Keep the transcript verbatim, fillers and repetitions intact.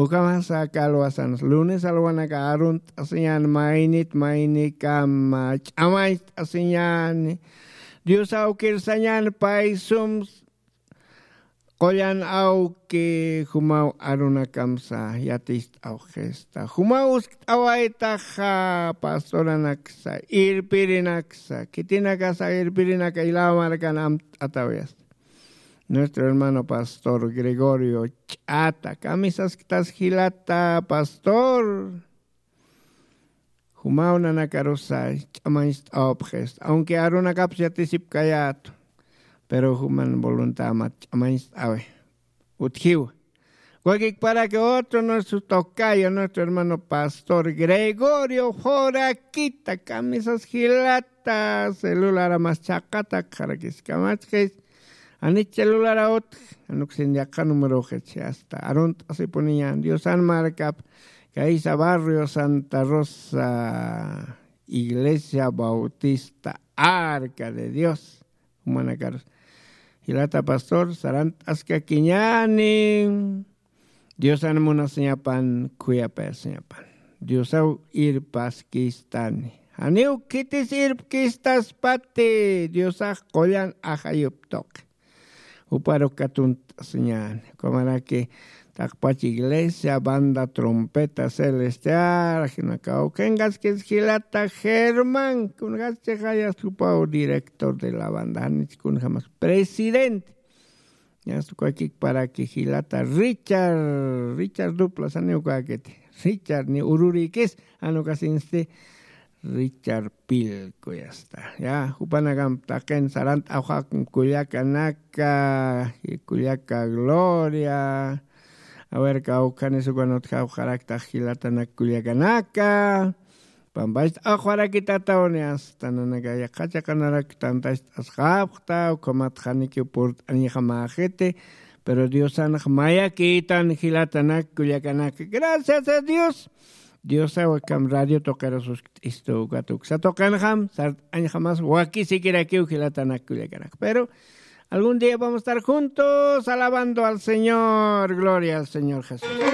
Ukamasa kalwasan lunes alwanaka arunt'asiñan maynit maynikama ch'amañcht'asiñani. Dios awkirsañan paysum qullan awki jumaw arunakamsa yatist'awxista jumaw uskt'awaytaxa pastoranaksa irpirinaksa khitinakasa irpirinaka ilaw markan amt'atawayasta. Nuestro hermano pastor Gregorio Ch'ata kamisasktas jilata pastor. Jumaw nanakarusa ch'amañcht'awapxista aunque arunakapsa yatisipkayätu. Pero juman voluntamat ch'amañcht'awi utjiwa. Wakikparaki otro nuestro tocayo nuestro hermano pastor Gregorio Foraquita kamisas jilata celularamas chaqatakxarakiskamachkis. Anich celulara utj anuksin yaqha numeroxich asta arunt'asipuniñan diosan markap kaysa barrio santa rosa iglesia bautista arca de dios. Jumanakarus jilata pastor sarant'askakiñani. Diosan munasiñapan khuyapayasiñapan diosaw irpaskistani. Janiw khitis irpkistaspati diosax qullan ajayuptuqi. Juparu katunt'asiñani ukamaraki taqpach iglesia banda trompeta celestial jinakaw khinqaskis jilata germán kunjaschixayas jupaw director de la banda janich kunjamas presidente. Ñas ukakikparaki jilata richard richard duplas janiw ukakiti richard ni ururikis janukasinsti. Richard pilkuyasta ya jupanakam taqin sarant'awxakum kullakanaka kullaka gloria. Awerka awkhanis ukan utjawxaraktax jilatanak kullakanaka. Pampacht'awxarakitataw ni asta nanaka yaqha chaqanarak tantacht'asxapxta ukhamat janikiw purt'añjamäxiti. Pero diosanax mayakïtan jilatanak kullakanaka gracias a dios. Diosaw akam radio tuqirus uskt'istu ukat uksa tuqinxam sart'añjamas wakisikirakiw jilatanak kullakanak pero algún día vamos a estar juntos alabando al señor gloria al señor jesús.